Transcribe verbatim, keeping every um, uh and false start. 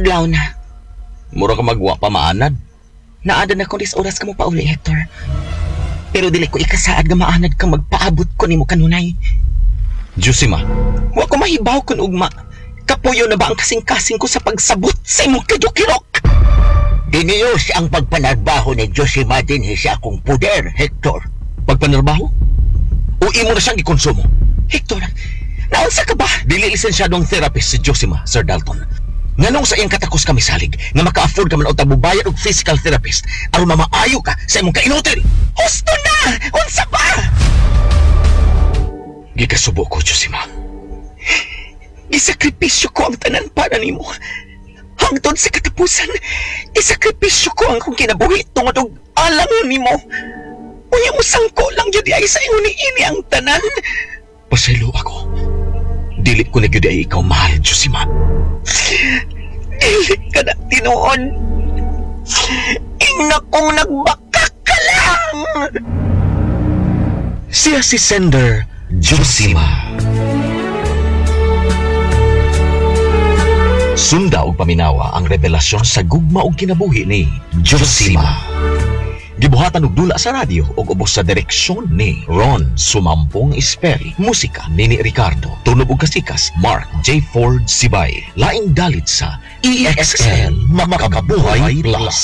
Adlaw na. Mura ka magwa pa maanad. Naanad na ko dis oras ka mo pauli, Hector. Pero dili ko ikasaad nga maanad kang magpaabot ko nimo kanunay. Josima, Wa ko mahibaw kun ugma. Kapuyo na ba ang kasing-kasing ko sa pagsabot sa imong kadukirok? Diniyos ang pagpanarbaho ni Josima dinhi sa akong puder, Hector. Pagpanarbaho? O imo na siyang gikonsumo? Hector, naunsa ka ba? Dili lisensyadong therapist si Josima, Sir Dalton. Nganong sa iyang katakos kami salig nga maka-afford ka man og tabubayad og physical therapist aron mamaayo ka sa imong kainutil. Husto na! Unsa ba? Gikasubo ko, Josima. Gisakripisyo ko ang tanan para nimo. Hangtod sa katapusan, isakripisyo ko ang akong kinabuhi tungod og alang nimo. Unya mo sangko lang gyud ay sa ingon niini ang tanan. Pasaylo ako. Dili ko na gyud ay ikaw mahal, Josima. Dili ka na tinuod. Ingna kong nagbaka ka lang. Siya si Sender Josima. Sunda og paminawa ang revelasyon sa gugma og kinabuhi ni Josima. Gibuhatan og dula sa radyo ug ubos sa direksyon ni Ron Sumampong Esperi. Musika Nini Ricardo. Tunog og kasikas Mark J. Ford Sibay. Laing dalit sa E X L Makabuhay Plus.